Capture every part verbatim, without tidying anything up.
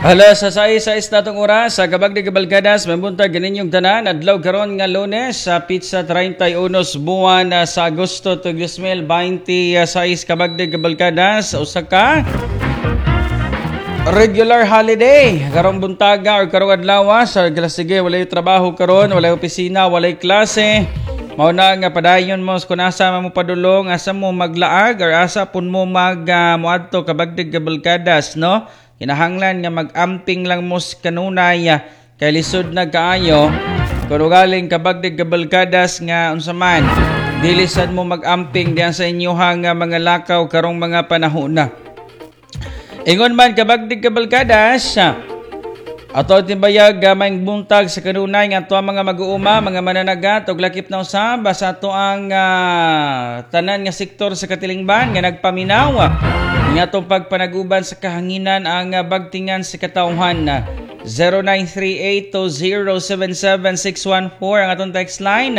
Alas sa sais sais natong oras sa Kabagdi Kabalkadas, mabuntag kaninyong tanan. Adlaw karon nga Lunes sa petsa treinta y uno buwan ah, sa Agosto dos mil twenty-six, Kabagdi Kabalkadas, usa ka regular holiday karong buntaga or karong adlaw. Sa sige, walay trabaho karon, walay opisina, walay klase. Mao na nga padayon mo kung asa mo padulong, asa mo maglaag or asa pun mo mag uh, moadto, Kabagdig Kabalkadas, no? Kinahanglan nga mag-amping lang mo sa kanunay ah, kay lisod na kaayo kung ugaling, Kabagdig Kabalkadas, nga unsa man, dili sad mo mag-amping diyan sa inyuhang nga mga lakaw karong mga panahon na. Ingon man, Kabagdig Kabalkadas, ato timbayag uh, maayong buntag sa kanunay nga ato ang mga mag-uuma, mga mananagat ug lakip na usab sa ato ang uh, tanan nga sektor sa katilingban nga nagpaminaw nga atong pagpanaguban sa kahanginan ang uh, bagtingan sa katawhan. zero nine three eight two zero seven seven six one four ang atong text line.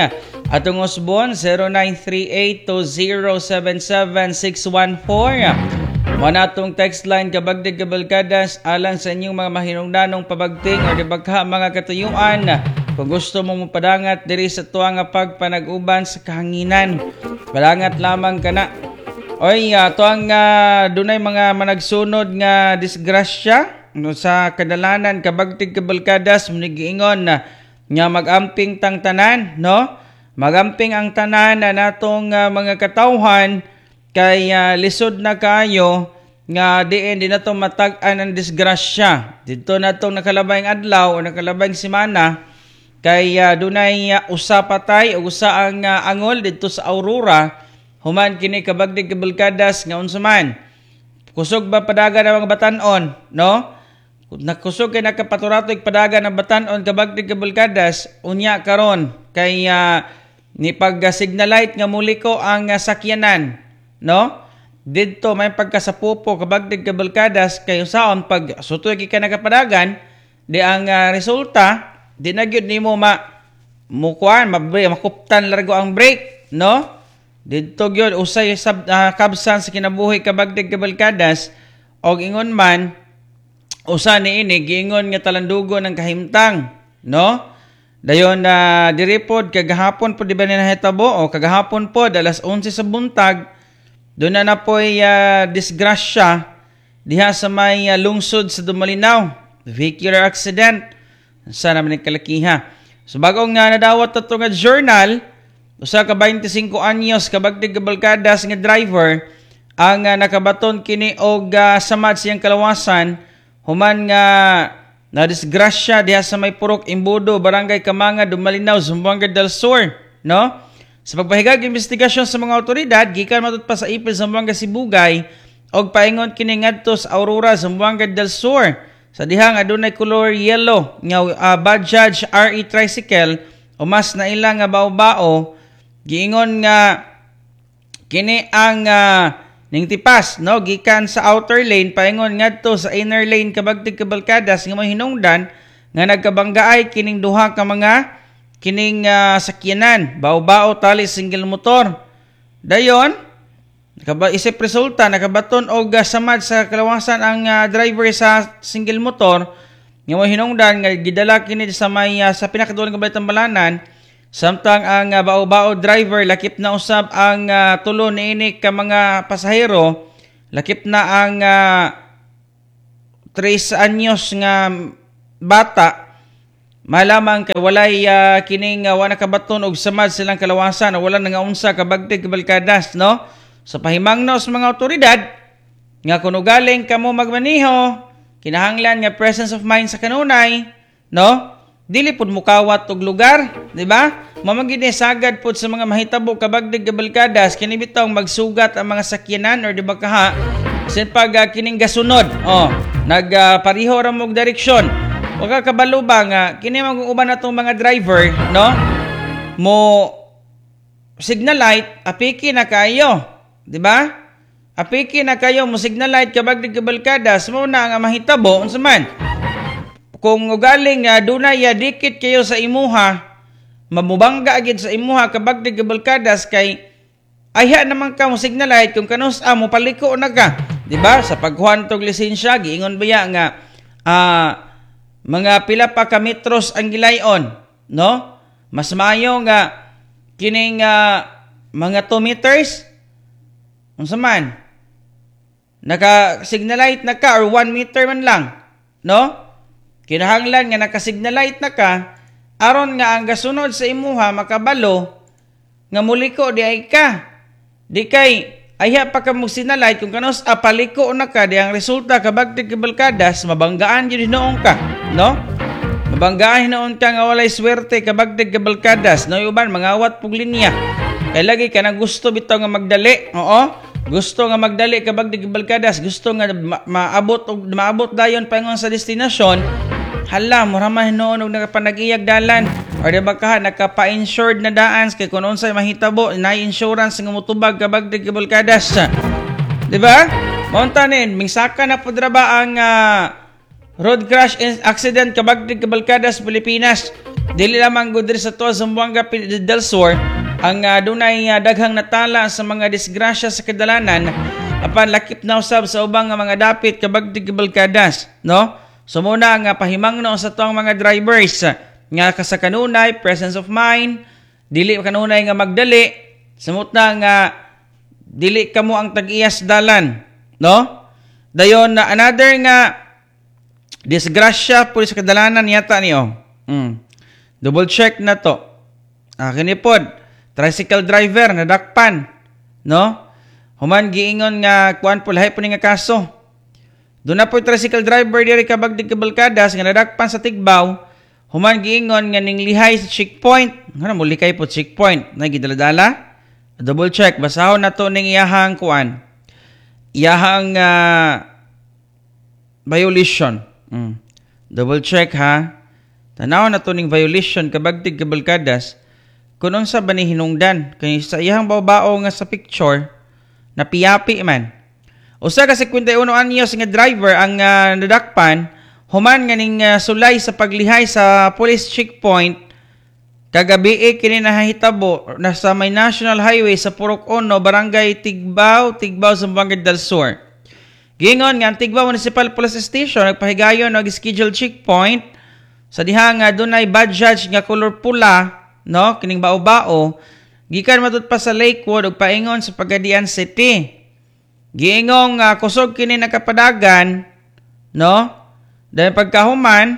Atong usbon, zero nine three eight two zero seven seven six one four. Mo na atong text line, Kabagdig Kabalkadas, alang sa inyong mga mahinungdanong pabagting or di baka mga katuyuan kung gusto mo mopadangat diri sa tuwa nga pagpanag-uban sa kahanginan. Padangat lamang kana. Oy, uh, tuang uh, dunay mga managsunod nga disgrasya, no, sa kadalanan, Kabagtig Kabalkadas, giingon na nga magamping tang tanan, no? Magamping ang tanan na natong uh, mga katawhan kay uh, lisod na kayo nga diin di nato matag-an ang disgrasya. Dito natong nakalabayng adlaw o nakalabayng semana kay uh, dunay uh, usa patay ug usa ang uh, angol didto sa Aurora. Human kini, Kabagdig Kabalkadas, nga unsa man, kusog ba padagan ang mga batanon, no? Nakusog kay nakapaturatoy padagan ang batanon, Kabagdig Kabalkadas. Unya karon kay uh, ni pag uh, signal light nga muliko ang uh, sakyanan, no? Didto may pagkasapupo, Kabagdig Kabalkadas, kay usaon pag sutoy ka nakapadagan di ang uh, resulta di na gyud nimo ma mukuan, makuptan largo ang brake, no? Didto gyud usay sab uh, kabsan sa kinabuhi, Kabagdig Kabalkadas. Og ingon man usa ni ini giingon nga talandugo ng kahimtang, no? Dayon na uh, diri pod kagahapon pod, di ba ni nahitabo o kagahapon pod alas onse sa buntag, doon na na po'y uh, disgrasya diha sa may uh, lungsod sa Dumalinao. Vehicular accident. Sa naman ni kalakiha. So bagong nga nadawat ato nga journal, usa ka twenty-five anyos, Kabagdig Kabalkadas, nga driver ang uh, nakabaton kini og uh, samad siyang kalawasan human nga na disgrasya diha sa may Purok Imbudo, Barangay Kamanga, Dumalinao, Zamboanga del Sur, no? Sa pagpahigag investigasyon sa mga otoridad, gikan matud pa sa Ipil, Zamboanga Sibugay og paingon kini ngadto sa Aurora, Zamboanga del Sur. Sa diha nga adunay color yellow nga uh, Bajaj R E tricycle o mas na ila nga bao-bao, giingon nga kini ang uh, ning tipas, no, gikan sa outer lane paingon ngadto sa inner lane, Kabagtig Kabalkadas, nga mahinungdan nga nagkabanggaay kining duha ka mga kining uh, sakyanan, bao-bao tali single motor. Dayon nakaba isip resulta nakabaton og uh, samad sa kalawasan ang uh, driver sa single motor nga hinungdan nga gidala kini sa may uh, sa pinakaduol nga balay balanan, samtang ang uh, bao-bao driver lakip na usab ang uh, tulo niini ka mga pasahero, lakip na ang uh, tres anyos nga bata. Malamang kay walay uh, kining uh, wa nakabaton og samad silang kalawasan o wala nangaunsa, Kabagtig Kabalkadas, no? Sa pahimangno sa mga otoridad nga kung ugaling kamo magmaniho, kinahanglan nga presence of mind sa kanunay, no? Dili pud mukawat og lugar, di ba? Mamagid ni sagad pud sa mga mahitabo, Kabagdig Kabalkadas, kini bitong magsugat ang mga sakyanan or di ba kaha sin pag uh, kining gasunod, oh, nagpariho uh, ra mo og direksyon. Wa ka kabalo ba nga kini man uban natong mga driver, no? Mo signal light, apiki na kayo, di ba? Apiki na kayo mo signal light, Kabagdig Kabalkadas, mo na nga mahitabo unsa man? Kung ugaling uh, dunay uh, dikit kayo sa imuha, mamubangga agid sa imuha, Kabagdig Kabalkadas, kay ayha naman ka mo signal light kung kanus-a mo paliko na ka, di ba? Sa paghuan tog lisensya, giingon baya nga ah, mga pila pa ka metros ang gilayon, no? Mas maayo nga kining ah, mga two meters, unsa man, naka signal light na ka or one meter man lang, no? Kinahanglan nga naka signal light na ka aron nga ang gasunod sa imuha makabalo nga muliko di ay ka. Di kay ayha pa ka mo signal light, kung kanus paliko na ka, di ang resulta, kabagtig kabalkadas, mabanggaan jud hinuon ka, no? Mabanggaan hinuon ka nga walay swerte, kabagtig kabalkadas, no? Uban mangawat pug linya. Kay lagi ka nang gusto bitaw nga magdali, oo. Gusto nga magdali, kabagtig kabalkadas, gusto nga ma- maabot og maabot dayon paingon sa destinasyon. Hala, mura man hinuon og nakapanag-iyag dalan. Or di ba ka nakapa-insured na daan kay kung unsay mahitabo, naay insurance nga motubag, kabagtig kabalkadas. Di ba? Maunta ni, mingsaka na pud ra ba ang ah, road crash in- accident, kabagtig kabalkadas, Pilipinas. Dili lamang gud diri sa tuwa Zamboanga del Sur ang uh, dunay uh, daghang natala sa mga disgrasya sa kadalanan, apan lakip na usab sa ubang nga mga dapit, kabagtig kabalkadas, no? So muna nga pahimangno sa tuang mga drivers nga sa kanunay presence of mind, dili kanunay nga magdali, samot na nga dili kamo ang tag-iyas dalan, no? Dayon na another nga disgrasya po sa kadalanan yata niyo. Mm. Double check na to. Ah, kini pod, tricycle driver nadakpan, no? Human giingon nga kuan po, lahi po ni nga kaso. Doon na po tricycle driver diri, kabagdig kabalkadas, nga nadakpan sa Tigbao, human giingon nga ning lihay sa checkpoint. Ngano mo likay po checkpoint? Na gidala-dala? Double check, basahon na to ning iyahang kuan. Iyahang uh, violation. Mm. Double check ha. Tanaw na to ning violation, kabagtig kabalkadas, kung unsa ba ni hinungdan kay sa iyang bao nga sa picture napiyapi man. Usa ka singkwenta y uno anyos nga driver ang uh, nadakpan human nga ning uh, sulay sa paglihay sa police checkpoint kagabi. Eh, kini nahitabo nasa may National Highway sa Purok Uno, Barangay Tigbao, Tigbao, Zamboanga del Sur. Gingon nga ang Tigbao Municipal Police Station nagpahigayon og scheduled checkpoint sa diha nga dunay Bajaj nga kolor pula, no, kining bao-bao, gikan matud pa sa Lakewood ug paingon sa Pagadian City. Giingong uh, kusog kini nakapadagan, no? Dahil pagkahuman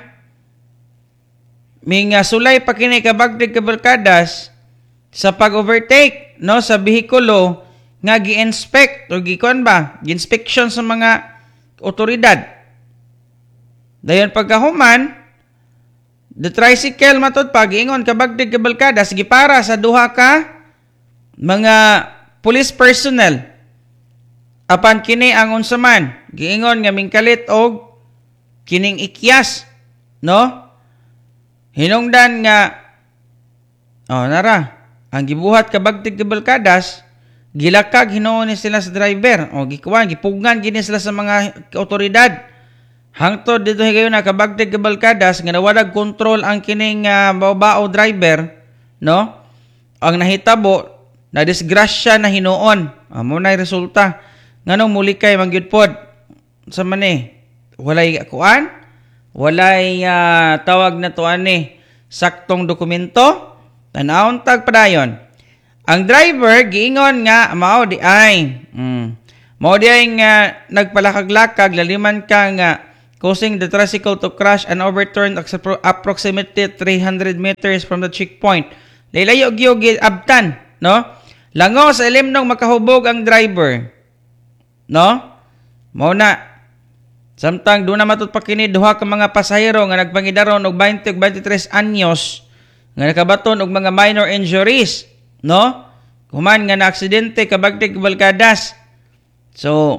ming uh, sulay pa kini, kabagdig kabalkadas, sa pag-overtake, no, sa bihikulo nga gi-inspect o gikuan ba, gi-inspection sa mga otoridad. Dayon pagkahuman, the tricycle matud pa, giingon, kabagdig kabalkadas, gipara sa duha ka mga police personnel. Apan kini ang unsa man, giingon nga mingkalit og kining ikyas, no? Hinungdan nga, oh, nara ang gibuhat, kabagtig kabalkadas, gilakag hinuon ni sila sa driver o gikuan, gipugngan gini sila sa mga otoridad hangtod dito higayon na, kabagtig kabalkadas, nga nawalag kontrol ang kining uh, bao driver, no? Ang nahitabo, na disgrasya na hinuon. Amo na resulta. Nganong mulikay man gyud pod sa man eh, walay kuan, walay uh, tawag na to ani, saktong dokumento. Tanawon tag padayon. Ang driver giingon nga mao di ay mm, mao di ay nga nagpalakag-lakag laliman ka nga causing the tricycle to crash and overturn approximately three hundred meters from the checkpoint. Laylayo gyud abtan, no? Lango sa ilimnong makahubog ang driver. No? Mao na. Samtang doon na matud pa kini duha ka mga pasahero nga nagpangidaron og twenty ug twenty-three anyos nga nakabaton og mga minor injuries, no? Human nga na aksidente, kabagtig balkadas. So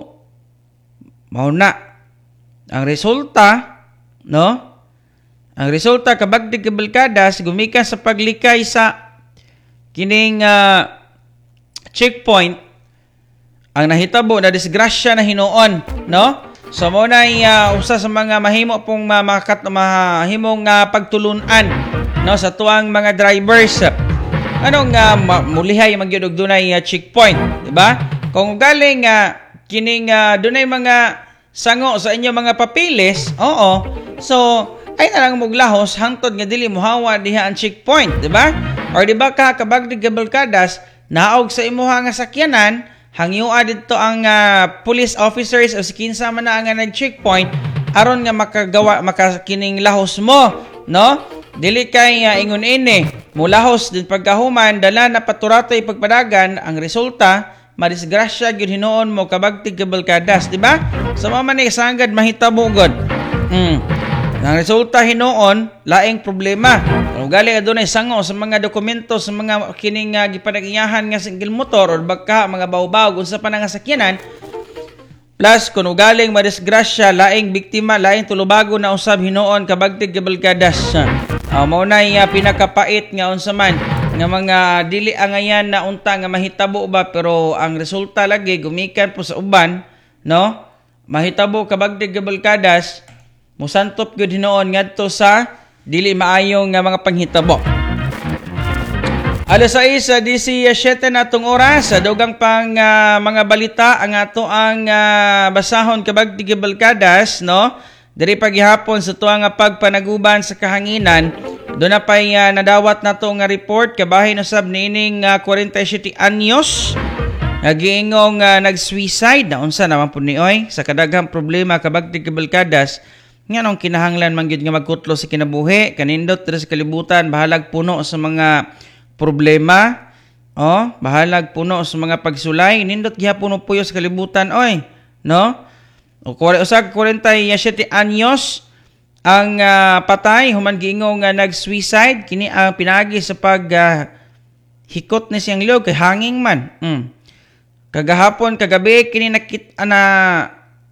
mao na ang resulta, no? Ang resulta, kabagtig kabalkadas, gumikan sa paglikay sa kining uh, checkpoint, ang nahitabo, na disgrasya na hinuon, no? So mo na uh, usa sa mga mahimo pong makat mahimong uh, pagtulunan, no, sa tuang mga drivers. Anong uh, mulihay man gyud og dunay uh, checkpoint, di ba? Kung galing uh, kining uh, dunay mga sango sa inyo mga papilis. Oo. So, ay na lang moglahos hangtod nga dili mohawa diha ang checkpoint, di ba? Or di ba ka, kabagdig kabalkadas, naog sa imuha nga sakyanan, hangyoa didto ang uh, police officers o si kinsa man na nga nag-checkpoint aron nga makagawa makakining lahos mo, no? Dili kay uh, ingon ini, mulahos din pagkahuman dala na paturatoy pagpadagan, ang resulta madisgrasya gyud hinuon mo, kabagtig kabalkadas, di ba? Sa so, man ni sanggad mahitabo gud. Mm. Ang resulta hinuon, laing problema. Ugali adunay sango sa mga dokumento sa mga kining uh, gipanag-iyahan nga single motor or baka mga bawbaw unsa pa nga sakyanan. Plus kung ugaling madisgrasya, laing biktima, laing tulubago na usab hinuon, kabagtig kabalkadas. Uh, mao na uh, pinakapait nga unsa man nga mga dili angayan na unta nga mahitabo ba, pero ang resulta lagi gumikan po sa uban, no? Mahitabo, kabagtig kabalkadas, musantop gyud hinuon ngadto sa dili maayong nga mga panghitabo. Alas sais disisiete na atong oras, sa dugang pang uh, mga balita ang ato ang uh, basahon, kabagtig kabalkadas, no? Diri pagihapon sa tuwa nga pagpanaguban sa kahanginan, doon na pa'y uh, nadawat na to nga report kabahin usab niining uh, forty-seven anyos nagiingong uh, nag-suicide na. Unsa naman po ni oy sa kadaghang problema, kabagtig kabalkadas, nganong kinahanglan man gyud nga magkutlo sa kinabuhi? Kanindot diri sa kalibutan, bahalag puno sa mga problema, oh, bahalag puno sa mga pagsulay, nindot gihapon mo puyo sa kalibutan oy, no? O usag forty-seven anyos ang uh, patay human giingong nga uh, nag-suicide kini ang pinaagi sa pag uh, hikot ni siyang liog kay hanging man. Mm. Kagahapon kagabi kini nakit na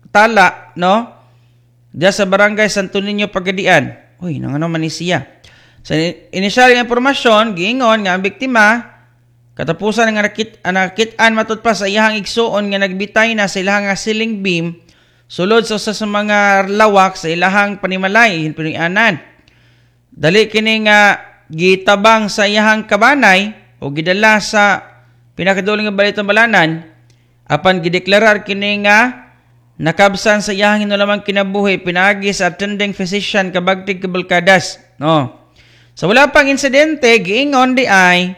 tala, no? Diya sa Barangay Santo Niño, Pagadian. Uy, nang ano man ni siya. Sa inisyal nga impormasyon, giingon nga ang biktima katapusan nga nakit nakit-an matud pa sa iyahang igsuon nga nagbitay na sa ilahang ceiling beam sulod sa usa sa mga lawak sa ilahang panimalay pinuy-anan. Dali kini nga gitabang sa iyahang kabanay o gidala sa pinakaduling nga balitang balanan, apan gideklarar kini nga nakabsan sa iyahang hinulamang kinabuhi pinaagi sa attending physician, kabagtig kabalkadas, no? Sa wala pang insidente, giingon di ay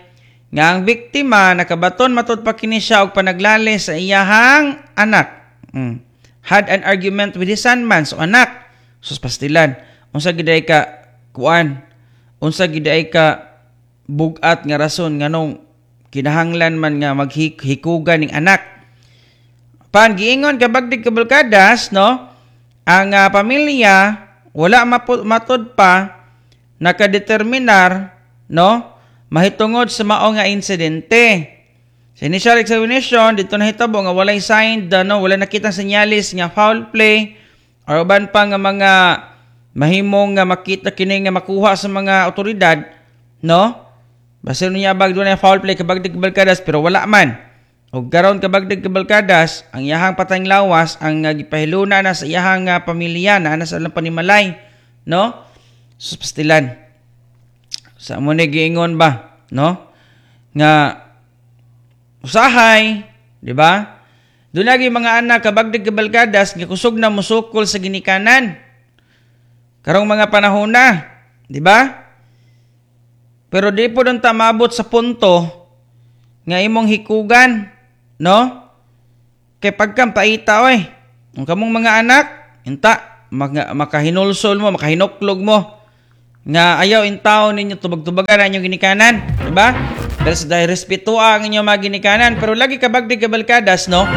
nga ang biktima nakabaton matud pa kini siya og panaglali sa iyahang anak. Mm. Had an argument with his son man. So anak, sus pastilan. Unsa giday ka kuan? Unsa giday ka bugat nga rason nganong kinahanglan man nga maghikugan ning anak? Pan giingon, kabagdig kabalkadas, no? Ang uh, pamilya wala matud pa nakadeterminar, no, mahitungod sa mao nga insidente. Sa initial examination dito nahitabo nga walay sign, no, wala nakita senyalis nga foul play or uban pa nga mga mahimong nga makita kini nga makuha sa mga otoridad, no? Basta niya bag dunay foul play, kabagdig kabalkadas, pero wala man. Og karon, kabagdig kabalkadas, ang iyahang patayng lawas ang uh, gipahiluna na sa iyahang uh, pamilya na ana sa ilang panimalay, no? Sus pastilan. Sa mo ni giingon ba, no? Nga usahay, di ba? Doon lagi mga anak, kabagdig kabalkadas, nga kusog na musukol sa ginikanan. Karong mga panahon na, di ba? Pero di po doon ta maabot sa punto nga imong hikugan, no? Kay pagkam paita oy. Ang kamong mga anak, inta makahinulsol mo, makahinuklog mo nga ayaw intaw ninyo tubag-tubagan ang inyong ginikanan, di ba? Dahil sa dahil respeto ang inyong mga ginikanan, pero lagi kabagdig kabalkadas, no?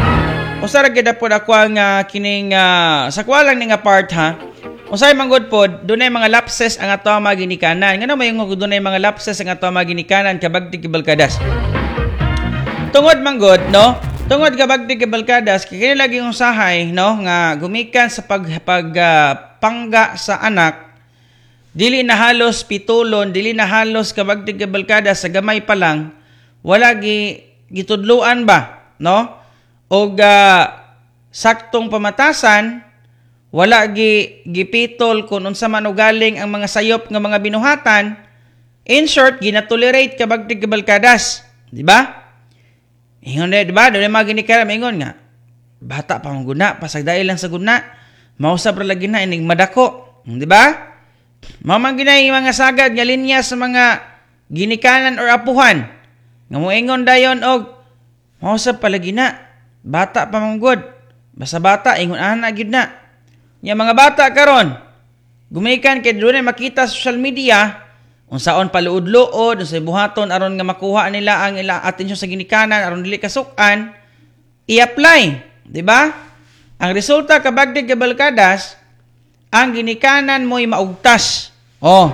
Usa ra gyud pod ako ang uh, kining uh, sa kuha lang ni nga part ha. Usay manggod pod, dunay mga lapses ang ato mga ginikanan. Ngano may ngo dunay mga lapses ang ato mga ginikanan, kabagdig kabalkadas? Tungod manggod, no? Tungod, kabagdig kabalkadas, kay kini lagi usahay, no, nga gumikan sa pag pag uh, pangga sa anak, dili na halos pitulon, dili na halos, kabagdig kabalkadas, sa gamay pa lang wala gi gitudluan ba, no? Og uh, saktong pamatasan, wala gi gipitol kung unsa man ugaling ang mga sayop nga mga binuhatan. In short, ginatolerate, kabagdig kabalkadas, di ba? Ingon di ba? Doon mga ginikanan, ingon nga, bata pa ang guna, pasagdai lang sa guna. Mausab ra lagi na inig madako, di ba? Mao man ginay mga sagad nga linya sa mga ginikanan or apuhan. Nga moingon dayon og mausab palagi na, bata pa man gud. Basta bata ingon ana gyud na. Nya mga bata karon gumikan kay dunay makita sa social media unsaon paluod-luod, unsay buhaton aron nga makuha nila ang ila atensyon sa ginikanan aron dili kasuk-an, i-apply, di ba? Ang resulta, kabagdig kabalkadas, ang ginikanan mo'y maugtas. Oh,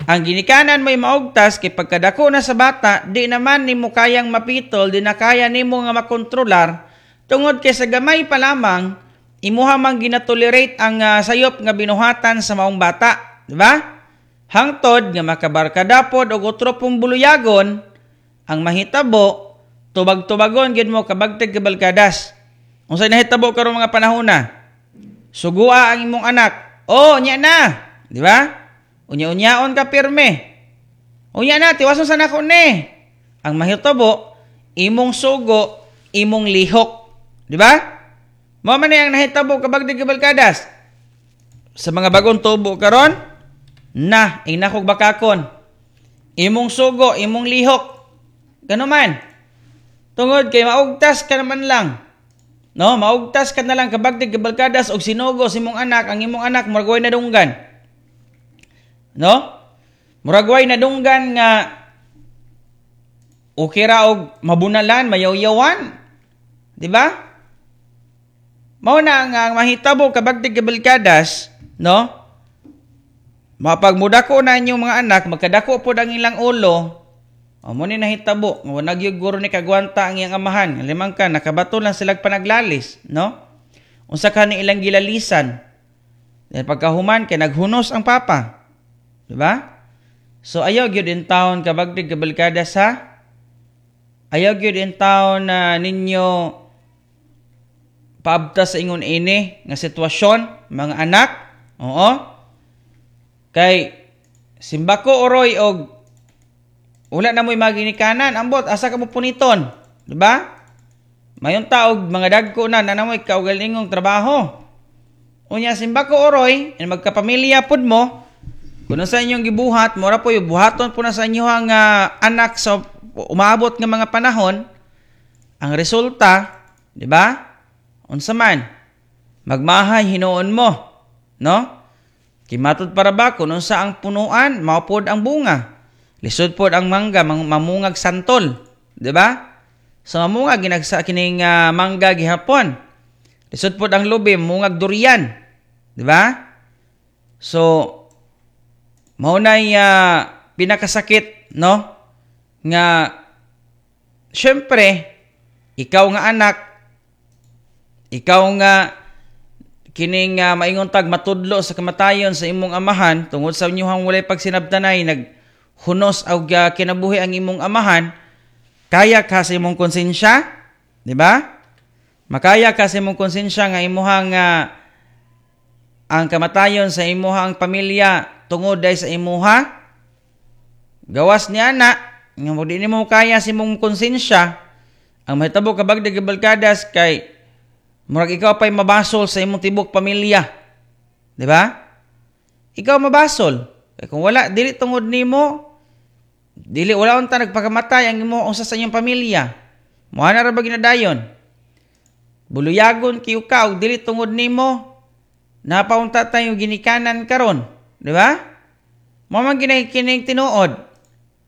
ang ginikanan mo'y maugtas kay pagkadako na sa bata, di naman nimo kayang mapitol, di na kaya nimo nga makontrolar tungod kay sa gamay pa lamang imuha man ginatolerate ang uh, sayop nga binuhatan sa maong bata, di ba? Hangtod nga makabarkada pod og otro pong buluyagon, ang mahitabo tubag-tubagon gid mo, kabagtig kabalkadas. Unsay nahitabo karon mga panahon na? Sugua ang imong anak. Oh, unya na, di ba? Unya-unyaon ka pirme. Unya na, tiwason sa nako ni. Ang mahitabo, imong sugo, imong lihok, di ba? Mao man ang nahitabo, kabagtig kabalkadas. Sa mga bagong tubo karon, na inakog bakakon. Imong sugo, imong lihok. Gano man. Tungod kay maugtas ka naman lang. No, maugtas ka na lang, kabagtig kabalkadas, og sinugo sa imong anak, ang imong anak murag way nadunggan. No? Murag way nadunggan nga okay ra og mabunalan, mayawyawan. Di ba? Mao na ang, ang mahitabo, kabagtig kabalkadas, no? Mapag mudako na inyong mga anak, magkadako pod ang ilang ulo, o mo ni nahitabo, nga nagyug guro ni kagwanta ang iyang amahan. Limang ka, nakabato lang sila panaglalis, no? Unsa ka ni ilang gilalisan. Then pagkahuman, kay naghunos ang papa. Di ba? So ayaw gyud in town, kabagtig kabalkada sa ayaw gyud in town na ninyo paabta sa ingon ini nga sitwasyon, mga anak. Oo. Kay simbako oroy og wala na mo'y maginikanan, ambot asa ka mo puniton, di ba? Mayon taog mga dagko na na namoy kaugalingong trabaho. Unya simbako oroy, and magkapamilya pud mo, kuno sa inyong gibuhat, mora po buhaton po na sa inyong uh, anak sa umaabot nga mga panahon, ang resulta, di ba? Unsa man, magmahay hinuon mo, no? Kimatod para ba kung unsa ang punuan, mao pod ang bunga. Lisod pod ang mangga mamungag santol, di ba? Sa mamungag ginagsa kining uh, mangga gihapon. Lisod pod ang lubi mungag durian, di ba? So mao nay uh, pinakasakit, no? Nga syempre ikaw nga anak, ikaw nga kining uh, maingon tag matudlo sa kamatayon sa imong amahan tungod sa inyong walay pagsinabtanay, naghunos og uh, kinabuhi ang imong amahan, kaya ka sa imong konsensya, di ba? Makaya ka sa imong konsensya nga imuhang uh, ang kamatayon sa imuhang pamilya tungod day sa imuha? Gawas niya na nga mo di nimo kaya sa imong konsensya, ang mahitabo, kabagdig kabalkadas, kay murag ikaw pa'y mabasol sa imong tibok pamilya. Di ba? Ikaw mabasol. Kay kung wala, dili tungod nimo, dili wala unta nagpakamatay ang imo usa sa inyong pamilya. Moha na ra ba ginadayon? Buluyagon kiyo ka og dili tungod nimo, napaunta tayo ginikanan karon, di ba? Mao man ginay kining tinuod.